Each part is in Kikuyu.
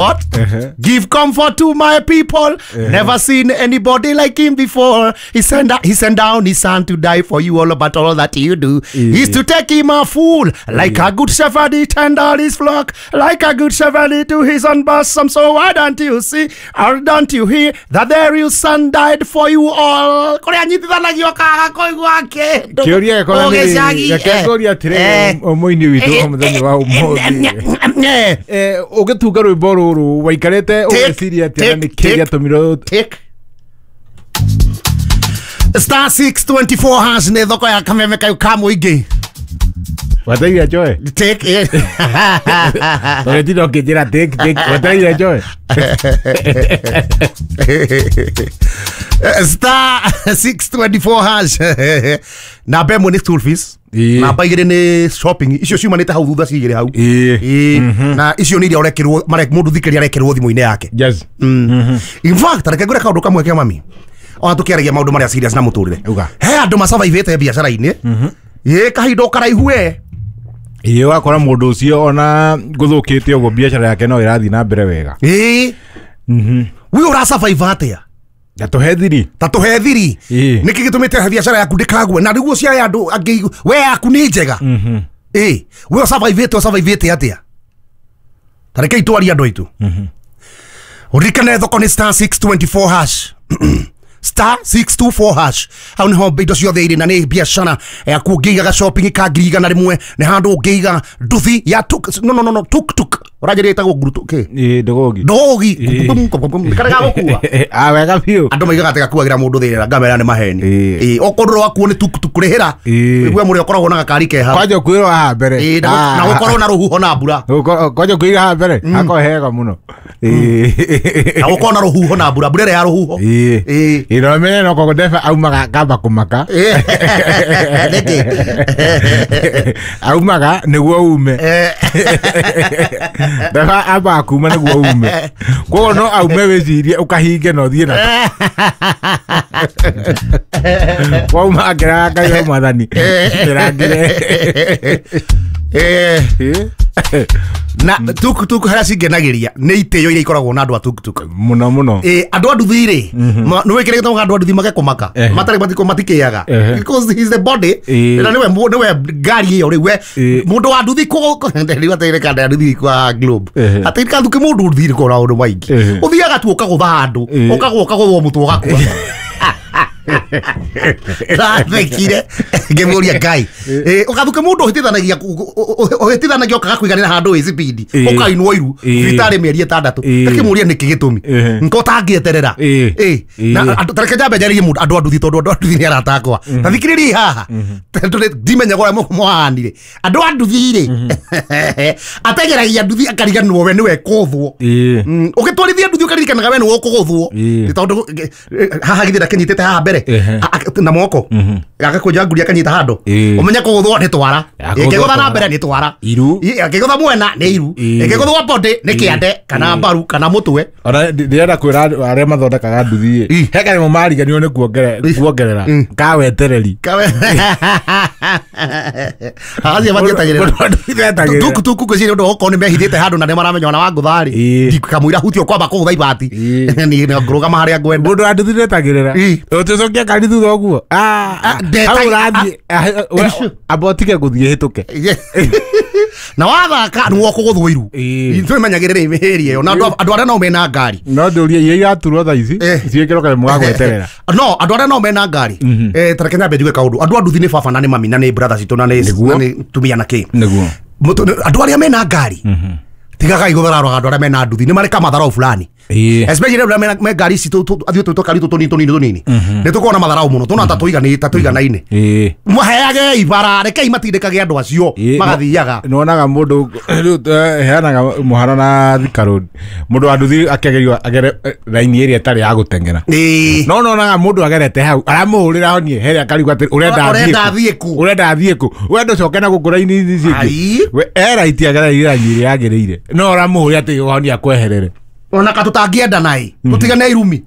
What? Give comfort to my people. Never seen anybody like him before. He sent down his son to die for you all, but all that you do is to take him a fool. Like a good shepherd, he tend all his flock. Like a good shepherd, he to his own bosom. So why don't you see or don't you hear that there your son died for you all? Kũrĩa anyitithanagio kaga koigua kĩndũ. Kĩũria gĩkorwo nĩ Ũgĩcagi, reke ngũrie atĩrĩrĩ, mũini witũ mũthenya wa ũmũthĩ, ũgĩtunga rwĩmbo rũrũ waikarĩte ũgeciria atĩa na nĩkĩ gĩatũmire? Tick. *624# nĩ thoko ya kameme kayu ka mũingĩ. Wetereire njoe? Tick. Tondũ tinda ũkĩnjĩra tick tick, wetereire njoe. *624#. Namba ĩmwe nĩ school fees. Namba igĩrĩ nĩ shopping, icio ciumanĩte hau thutha cigĩrĩ hau. Ĩĩ. Na icio nĩ iria ũrekĩrwo mũndũ thikĩria arekĩrwo thimũ-inĩ yake. In fact, reke ngwĩre kaũndũ kamwe kĩa mami ona tũkĩaragia maũndũ marĩa serious na mũtũrĩre. Uga. He andũ masurvivĩte biacara-inĩ ĩ kahinda o karaihu we. Ĩĩ, ũgakora mũndũ ũcio ona gũthũkĩte ũguo biacara yake no ĩrathiĩ na mbere wega. Ĩĩ, we ũrasurvive atĩa? Na tũhe thiri. Ta tũhe thiri. Nĩkĩ gĩtũmĩte biacara yaku ndĩkague na nĩguo cia andũ angĩ, we yaku nĩ njega? Ĩ we ũsurvivĩte atĩa? Ta rekei twarie andũ aitũ. Ũririkane thoko nĩ *624#, *624#. Hau niho indo ciothe irĩ na nĩ biacara yaku. Ũngĩigaga shopping ka 100,000 nĩ handũ ũngĩiga nduthi ya tuk, no no no no tuk tuk, ũranjĩrĩa ĩtagwo ngurutu kĩ? Ĩĩ, ndũgũgi. Ndogi karĩa gagũkua. Ah, wega biũ. Andũ maigaga atĩ gakuagĩra mũndũ thĩna, ngamera nĩ maheni. Ĩĩ, okorwo rwakuo nĩ tuk tuk rĩhĩra. Igue mũrĩa ũkoragwo na gakari ke hau. Kwanja kwĩrwo haha mbere. Ĩĩ, na gũkorwo na rũhuho na mbura. Kwanja kwĩrwo haha mbere hakorwo hega mũno. Na gũkorwo na rũhuho na mbura, mbura ĩrĩa ya rũhuho. Ĩĩ, na ũmenye no koguo ndereba aumaga kamba kũmaka. Nĩkĩ? Aumaga nĩguo ume. Ndereba ambaga kuma nĩguo ume, koguo no aume wĩcirie ũkahinge na ũthiĩ na wauma akĩraga Ngai wa mwathani ndĩrangĩre. Na tuk tuk harĩa cingenagĩria nĩ itĩo iria ikoragwo na andũ a tuk tuk. Mũno mũno. Ĩ, andũ a nduthi rĩ, nĩ wĩkĩrĩte andũ a nduthi magekũmaka matarĩ matiko matikĩaga because he's the body. Na nĩwe nĩwe ngari ĩyo rĩu we mũndũ wa nduthi rĩu atĩrĩ kanda ya nduthi kwa globe atĩ kathuke mũndũ nduthi rĩ kona maũndũ maingĩ. Ũthiaga tu ũkagũtha handũ, ũkagũa ũkagũthwo mũtwe ũgakua. Ndathekire ngĩmũria Ngai. Ũgathuke mũndũ ũhĩtithanagia ũhĩtithanagia ũkaga kũiganĩra handũ wĩ speed, ũkainwo iru thibitarĩ mĩeri 6. Ngakĩmũria nĩkĩ gĩtũmi nko ũtangĩeterera. Na tareke njambe njarĩrie mũndũ andũ a nduthi, tondũ andũ a nduthi nĩ arata akwa. Ta thikĩrĩriai haha, tondũ ndimenyaga ũrĩa mũhanire. Andũ a nduthi rĩ, ateng'eragia nduthi akariganĩrwo we nĩwe kũthwo. Ũgĩtwarithia nduthi ũkaririkanaga we nĩwe ũkũgũthwo. Tondũ haha githĩ ndakĩnyitĩte haha mbere na moko agakũnja nguri akanyita handũ. Ũmenye kũgũthwo nĩ twara. Kũgũthwo ĩngĩgũtha na twara. Mbere nĩ twara. Iru. Ĩngĩgũtha mwena nĩ iru. Ĩngĩgũthwo body nĩ kĩande kana mbaru kana mũtwe. Ona ndĩrenda kwĩra andũ arĩa mathondekaga nduthi ĩ, he kanyamũ mariganĩrwo nĩ kuongerera ka wetereri. Kawe acio matietagĩrĩra. Mũndũ wa nduthi ndetagĩrĩra. Tuku tuku ngwĩciria ũndũ okorwo nĩ mehithĩte handũ na nĩ maramenya ona wangũtha rĩ, kamũira huti ũkwamba kũgũtha ibati. Niĩ ngũrũgama harĩa ngwenda. Mũndũ wa nduthi ndetagĩrĩra. Ũtũcokia ngari thutha ũguo. Hau ũrathiĩ, amba ũtige gũthiĩ hĩtũke. Na wathaka nĩ wokũgũthwo iru. Twĩmenyagĩrĩre mĩhĩria ĩyo na andũ arĩa nao mena ngari. No ndũrie iria iraturwo thaa ici ciĩkĩrwo kanyamũ ga gweterera. No andũ arĩa nao mena ngari, tareke nyambe njuge kaũndũ. Andũ a nduthi nĩ baba na nĩ mami na nĩ brother citũ na nĩ Nĩguo. na nĩ tumia na kĩ. Nĩguo. Andũ arĩa mena ngari, tigagai gũthararũga andũ arĩa mena nduthi, nĩ marĩ kamatharau fulani, especially arĩa me ngari ici athiĩ tũ tũkari tũ tũnini tũnini tũnini, nĩ tũkoragwo na matharau mũno tũna ta tũiganaine. Maheage ibara, rekei matindĩkage andũ acio magathiaga. Nĩwonaga mũndũ rĩu, heanaga mũhano na Thika Road, mũndũ wa nduthi akĩgerio agere raini ĩrĩa ĩtarĩ ya gũteng'era. No nonaga mũndũ agerete hau aramũhũrĩra honie herĩa akarigwo atĩ ũrenda Ũrenda athiĩ athiĩ kũ? Kũ? Ũrenda athiĩ kũ? Ũrenda ũcoke na gũkũ raini ici cingĩ. We e raiti agereire raini ĩrĩa yagĩrĩire no ũramũhũrĩra atĩ honie akweherere. Ona ka tũtangĩenda naĩ tũtigane irumi.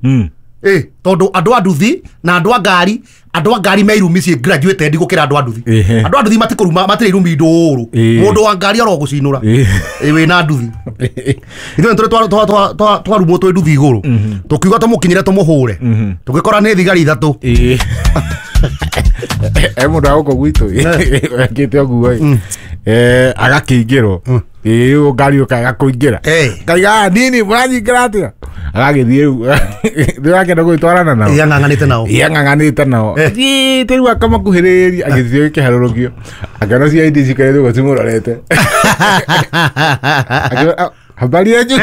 Tondu andu a nduthi na andu a ngari andu a ngari me irumi ciĩ graduated gũkĩra andu a nduthi. Andu a nduthi matikũruma matirĩ irumi ndũũrũ. Mũndũ wa ngari oro gũcinũra. Wĩna nduthi. Ithuĩ tũrĩ twarumwo twĩ nduthi igũrũ. Tũkiuga tũmũkinyĩre tũmũhũre. Tũgĩkora nĩ thigari ithatũ. Mũndũ wa gũkũ gwitũ ekĩte ũguo agakĩingĩrwo ĩĩ ngari ũkaga kũingĩra ngaiga nini mũranyingĩra atĩa agagĩthiĩ rĩu ndĩrakenda gũgĩtwarana nao yang'ang'anĩte nao yang'ang'anĩte nao thiĩte rĩu akamakuhĩrĩria agĩthiĩ kĩharũrũkio akĩona CID cikarĩte ũguo cimũrorete habari yanyu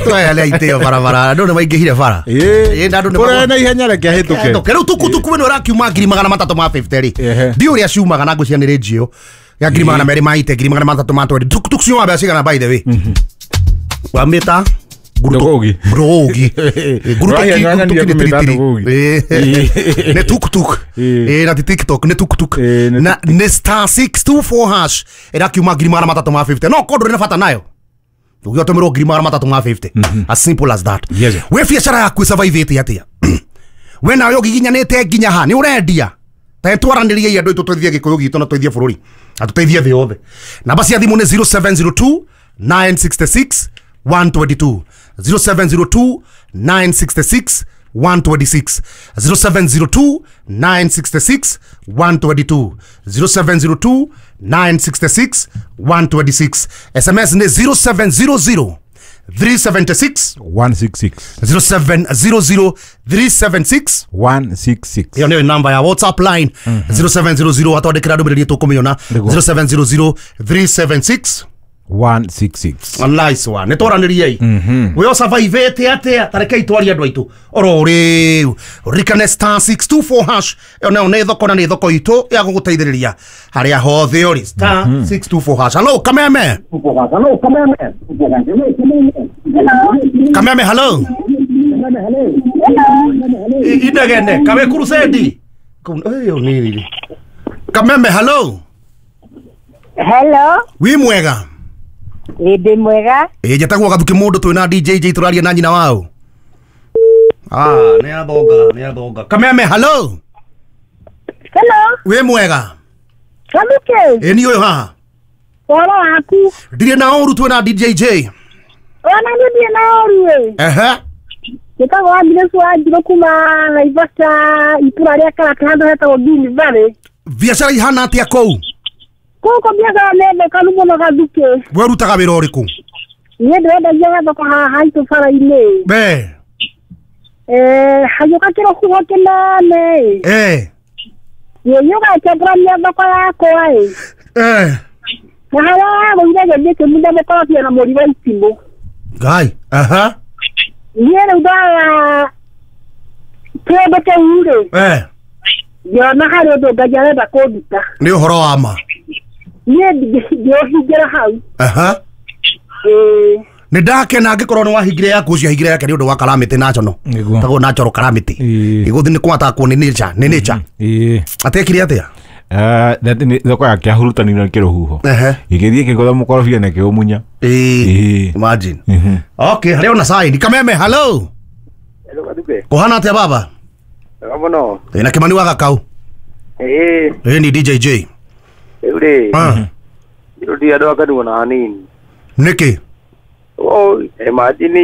twaheana itĩo barabara andũ nĩ maingĩhire bara ũrĩa na ihenya reke ahĩtũke rĩu tukutuku ĩno ĩrakiuma 350 rĩ ndiũ ũrĩa ciumaga na ngwĩciria nĩ rĩnjio ya 200 ma 320 tukutuku ciumaga mbeca cigana by the way wamĩta Ndũgũgi. Ndũgũgi. Nĩ tuktuk. Na ti TikTok nĩ tuktuk. Na nĩ star 624 hash ĩrakiuma 350 no korwo ndũrĩ na bata nayo ũgĩtũmĩrwo 350 as simple as that. We biacara yaku ĩsurvivĩte atĩa? We nawe ũgiginyanĩte nginya ha nĩ ũrendia ta twaranĩrie andũ aitũ tũteithie gĩkũyũ gitũ na tũteithie bũrũri na tũteithie thĩ yothe. Namba cia thimũ nĩ 0702 966 122 0702 966 126 0702 966 122 0702 966 126 SMS ni 0700 376 166 0700 376 166 iyo niyo namba ya WhatsApp line 0700 atwandikira ndũmĩrĩri tũkũmĩona 0700 376 166 nice one. Nĩtwaranĩriei we ũsurvivĩte atĩa ta rekei twarie andũ aitũ oro rĩu ririkane star 624 hash ĩyo nayo nĩ thoko na nĩ thoko itũ ya gũgũteithĩrĩria harĩa hothe ũrĩ star 624 hash. Hello Kameme. Kameme hello. Indegene kawe kurusendi ĩyo nĩ Kameme hello. Hello. Wi mwega? Ndĩ mwega. Njĩtagwo Gathuki mũndũ twĩna DJ J tũraria na nyina wao. Nĩ athonga, nĩ athonga. Kameme hello. Hello. Wĩ mwega? Gathuki. Ĩ ni ũyũ haha. Ũhoro waku? Ndirĩ na ũru twĩna DJ J. Ona niĩ ndirĩ na ũru ĩ. Ehe. Njĩtagwo Agnes Wanjirũ kuma Naivasha itũra rĩa Karata handũ hetagwo Green Valley. Biacara ihana atĩa kũu? Kũkũ biacara nĩ thekaru mũno Gathuki. We ũrutaga wĩra ũrĩkũ? Niĩ ndĩrendagia gathoko haha haitũ bara-inĩ. Be. Hagĩũka kĩrũhuho kĩnene ĩ. Gĩgĩũka gĩkĩambũrania thoko yakwa ĩ. Na harĩa yagũire gĩthiĩ kĩmunda mũkorobia na mũri wa itimũ. Ngai. Aha. Niĩ rĩu ndoya kĩndũ kĩu rĩ. Ngĩona harĩ ũndũ Ngai arenda kũnduta. Nĩ ũhoro wa ma. Niĩ ndingĩũhingĩra hau. Aha. Nĩ ndakena angĩkorwo nĩ wahingire yaku ũcio ahingire yake nĩ ũndũ wa calamity national. Tagwo natural calamity. Ĩgũthiĩ nĩ kwatakwo nĩ nature, nĩ nature. Atekire atĩa? Thoko yake ahurutanire nĩ kĩrũhuho. Gĩgĩthiĩ kĩgũtha mũkorobia na kĩũmunya. Imagine. Okay, harĩa ona sign. Kameme hello. Hello Gathuki. Kũhana atĩa baba? Wega mũno. Ĩna Kĩmani wa Gakau. Ni DJ J. Rĩu rĩ ndĩ andũ akanuo na hanini. Nĩkĩ? Imagine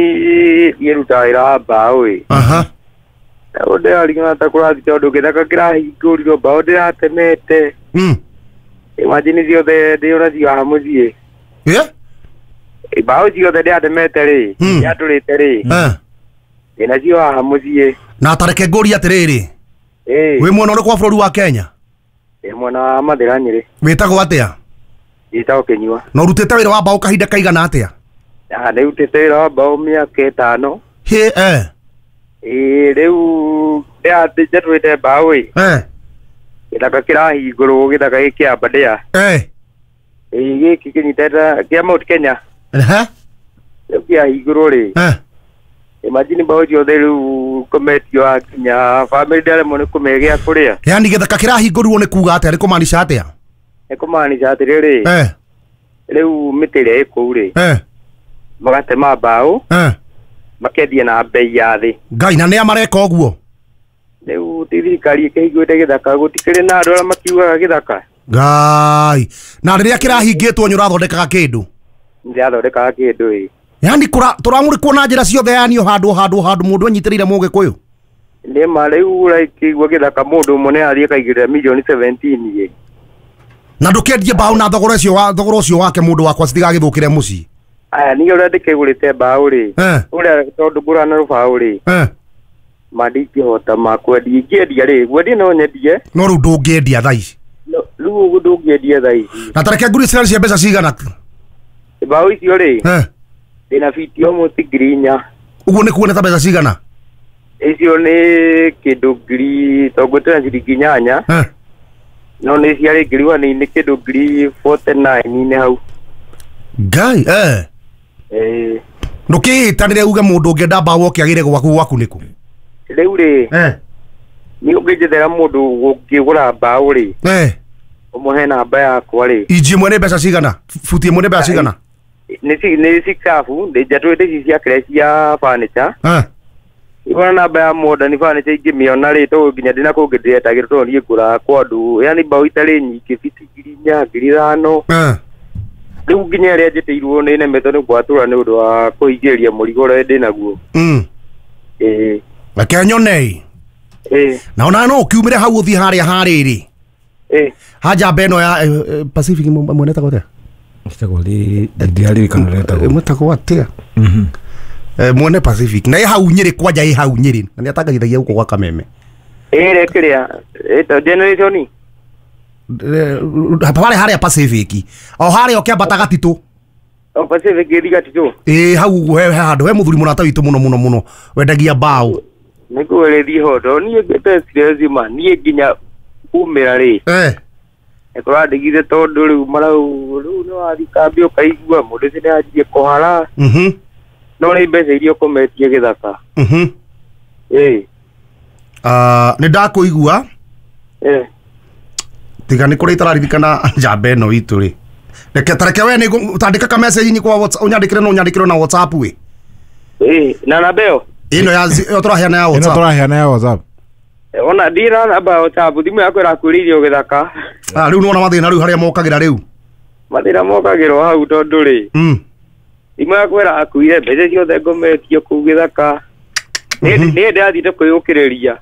niĩ rutaga wĩra wa mbaũ ĩ. Aha. Rĩu ndĩrarigana ta kũrathiĩ tondũ gĩthaka kĩrahingũrirwo mbaũ ndĩratemete. Imagine ciothe ndĩonacio haha mũciĩ. Mbaũ ciothe ndĩratemete rĩ, ndĩratũrĩte rĩ, ndĩnacio haha mũciĩ. Na tareke ngũrie atĩrĩrĩ. Wĩ mwena ũrĩkũ wa bũrũri wa Kenya? Mwena wa Mathĩra Nyĩrĩ. Wĩtagwo atĩa? Njĩtagwo Kĩnyua. Na ũrutĩte wĩra wa mbaũ kahinda kaigana atĩa? Ndĩrutĩte wĩra wa mbaũ mĩaka 5. Hĩ Rĩu njatũrĩte mbaũ ĩ. Gĩthaka kĩrahingũrwo gĩthaka gĩkĩ kĩa Aberdare. Gĩkĩ kĩnyitĩte kĩa Mount Kenya. Rĩu kĩahingũrwo rĩ. Imagine mbaũ ciothe rĩu kometio nginya bamĩrĩ ndĩraremwo nĩ kũmĩhe gĩa kũrĩa. Yaani gĩthaka kĩrahingũrirwo nĩ kuga atĩa? Nĩ kũmaanisha atĩa? Nĩ kũmaanisha atĩrĩrĩ. Rĩu mĩtĩ ĩrĩa ĩ kũu rĩ. Magatema mbaũ. Makendia na bei ya thĩ. Ngai na nĩa mareka ũguo? Rĩu ti thirikari ĩkĩhingũrĩte gĩthaka gũtikĩrĩ na andũ arĩa makiugaga gĩthaka. Ngai na rĩrĩa kĩrahingĩtwo nĩ ũrathondekaga kĩndũ? Ndĩrathondekaga kĩndũ ĩ. Yani tũramũrĩkwo na njĩra ciothe yani o handũ handũ mũndũ anyitĩrĩire mũgĩkũyũ. Nĩ ma rĩu ũraigua gĩthaka mũndũ ũmwe nĩ athiĩ akaigĩrĩra milioni 17 ĩ. Na ndũkĩendie mbaũ na thogora ũcio wake mũndũ wakwa citigagĩthũkĩre mũciĩ. Aya niĩ ũrĩa ndĩkĩgũrĩte mbaũ rĩ. Ũrĩa tondũ ngũraga na rũbaũ rĩ. Ma ndingĩhota ma kwendia ingĩendia rĩ gwendia no nyendie. No rĩu ndũngĩendia thaa ici. Rĩu ũguo ndũngĩendia thaa ici. Na tareke ngũri cirarĩ cia mbeca cigana? Mbaũ icio rĩ. Ndĩna fiti almost 4,000. Ũguo nĩ kuona ta mbeca cigana? Icio nĩ kĩndũ ngiri tondũ ciringi 8. No nĩ ciarĩ 1,000 nĩ kĩndũ 49,000 hau. Ngai Ndũkĩĩtanĩre uge mũndũ ũngĩenda mbaũ oke agĩre gwaku nĩkũ? Rĩu rĩ nĩ ũngĩnjethera mũndũ ũngĩgũra mbaũ rĩ ũmũhe namba yakwa rĩ. Inji ĩmwe nĩ mbeca cigana? Futi ĩmwe nĩ mbeca cigana? Nĩ sikabu ndĩnjatũrĩte ici cia kĩrĩa cia furniture. Ibona namba ya modern furniture ingĩmĩona rĩ tondũ nginya ndĩna kũngĩ ndĩretagĩrwo tondũ niĩ ngũraga kwa andũ yani mbaũ itarĩ nyingĩ fiti 4,000 5,000. Rĩu nginya ĩrĩa njĩtĩirwo nĩ nemetwo nĩ gwatũra nĩ ũndũ wa kũhingĩrĩria mũrigo ũrĩa ndĩnaguo. Reke nyone. Na ona no ũkiumĩre hau ũthiĩ harĩa harĩrĩ. Haja ĩno ya Pacific mwene etagwo atĩa? Etagwo ndiaririkana ũrĩa etagwo. Mwetagwo atĩa? Mwene Pacific na ĩ hau Nyĩrĩ kwanja ĩ hau Nyĩrĩ na nĩatangathithagia gũkũ gwa Kameme. Ĩrĩa kĩrĩa ĩta generation harĩa harĩa Pacific o harĩa ũkĩambata Gatitũ. O Pacific ĩthi Gatitũ. Ĩ hau ũguo he handũ he mũthuri mũrata witũ mũno mũno mũno wendagia mbaũ. Nĩngũrĩthiĩ ho tondũ niĩ ngĩte stress ma niĩ nginya kumĩra rĩ. Ĩkũrandigire tondũ rĩu marau rĩu nĩ wathiĩ kambĩ ũkaigua mũndũ ũcio nĩanjirie kũhara. No nĩ mbeca iria ũkometie gĩthaka. Nĩ ndakũigua. Tiga nĩ kũrĩa itararirikana njamba ĩno itũ rĩ. Reke tareke we nĩ tandĩka ka message kwa WhatsApp ũnyandĩkĩre no ũnyandĩkĩre na WhatsApp we. Na namba ĩyo? Ĩno ya ĩyo tũraheana ya WhatsApp. Ĩno tũraheana ya WhatsApp. Ona ndira namba ya WhatsApp thimũ yakwa ĩrakuĩrĩirio gĩthaka. Rĩu nĩwona mathĩna rĩu harĩa mokagĩra rĩu. Mathĩna mokagĩrwo hau tondũ rĩ. Thimũ yakwa ĩrakuire mbeca ciothe ngometio kũu gĩthaka. Niĩ ndĩrathiĩte kwĩyũkĩrĩria.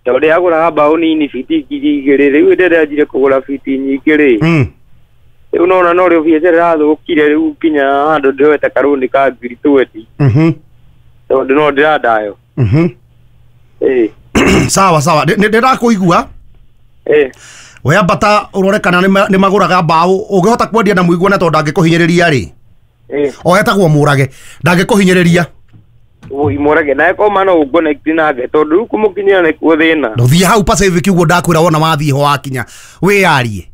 Tondũ ndĩragũraga mbaũ nini fiti 2,000 rĩu ndĩranjire kũgũra fiti nyingĩ rĩ. Rĩu nona no rĩo biacara ĩrathũkire rĩu nginya handũ ndĩroete karũni ka 20,000. Tondũ no ndĩrandayo. Sawa sawa ndĩrakũigua. We ambata ũrore kana nĩ magũraga mbaũ ũngĩhota kwendia na mũiguane tondũ ndangĩkũhinyĩrĩria rĩ. O etagwo Mũrage ndangĩkũhinyĩrĩria. Mũrage naye koma no ũconnect nake tondũ rĩu kũmũkinyĩra nĩkuo thĩna. Ndũthiĩ hau Pacific ũguo ndakwĩra wona wathiĩ ho wakinya wĩyarie.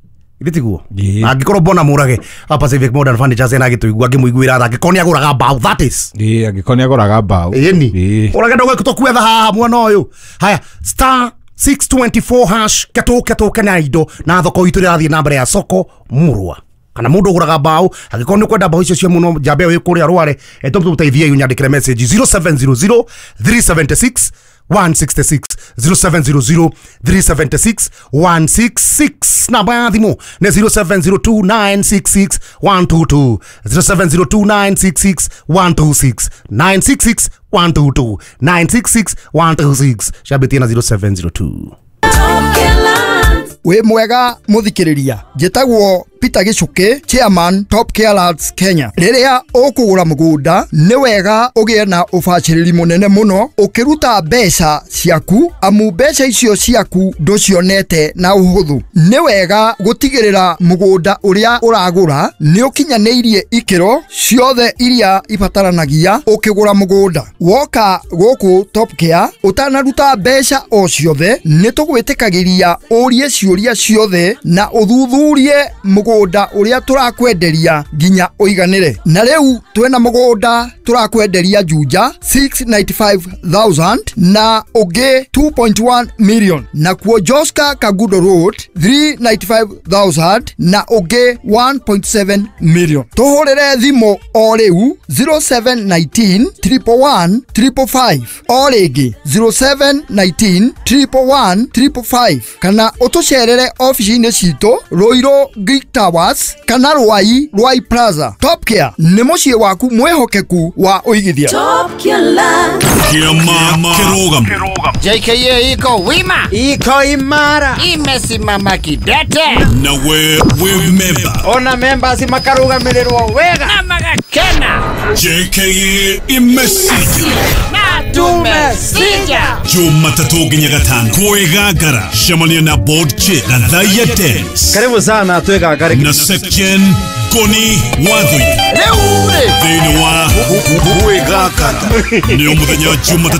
Githĩ tiguo? Angĩkorwo mbona Mũrage Pacific Modern Furniture ena gĩtũigua ngĩmũiguĩra tha angĩkorwo nĩagũraga mbaũ that is. Angĩkorwo nĩagũraga mbaũ. Ĩni. Mũrage ndũgũtũkwetha haha mwana ũyũ. Haya star 624 hash ketũke na indo na thoko itũ ĩrathiĩ na mbere ya soko murwa. Kana mũndũ ũgũraga mbaũ angĩkorwo nĩ ũkwenda mbaũ icio cia mũno njambe ĩyo ĩ kũrĩa Rware tũmũteithie ũnyandĩkĩre message 0700 376 166 0700 376 166 namba ya thimũ nĩ 0702 966 122 0702 966 126 966 122 966 126 ciambĩtie na 0702. Wĩ mwega mũthikĩrĩria, njĩtagwo Peter Gichuki, chairman Top Care Lands Kenya. Rĩrĩa ũkũgũra mũgũnda nĩ wega ũgĩe na ũbacĩrĩri mũnene mũno ũkĩruta mbeca ciaku, amu mbeca icio ciaku ndũcionete na ũhũthũ. Nĩ wega gũtigĩrĩra mũgũnda ũrĩa ũragũra nĩ ũkinyanĩirie ikĩro ciothe iria ibataranagia ũkĩgũra mũgũnda. Woka gũkũ Top Care ũtanaruta mbeca o ciothe nĩ tũgwĩtĩkagĩria ũrie ciũria ciothe na ũthuthurie mũgũnda mũgũnda ũrĩa tũrakwenderia nginya ũiganĩre. Na rĩu twĩna mũgũnda tũrakwenderia Juja 695,000 na ũngĩ 2.1 million, nakuo Joska Kagudo Road 395,000 na ũngĩ 1.7 million. Tũhũrĩre thimũ o rĩu 0719 111 555, o rĩngĩ 0719 111 555, kana ũtũcerere ofici-inĩ citũ Ruiru Greek Towers kana Ruai Ruai Plaza. Top Care nĩ mũciĩ waku mwĩhokeku wa ũigithia. Top Care. Kĩama kĩrũgamo. JKA iko wima, iko imara, imesimama kidete. Na we wĩ memba. Ona members makarugamirĩrwo wega na magakena. JKA imesija na tumesija. Jumatatu nginya gatano kwĩgangara cemania na board chair Gathaiya Dennis. Karibu sana twĩgangare na Section Ngoni Wathuika rĩu rĩ thĩinĩ wa Kwĩgangara nĩo mũthenya Jumatatũ.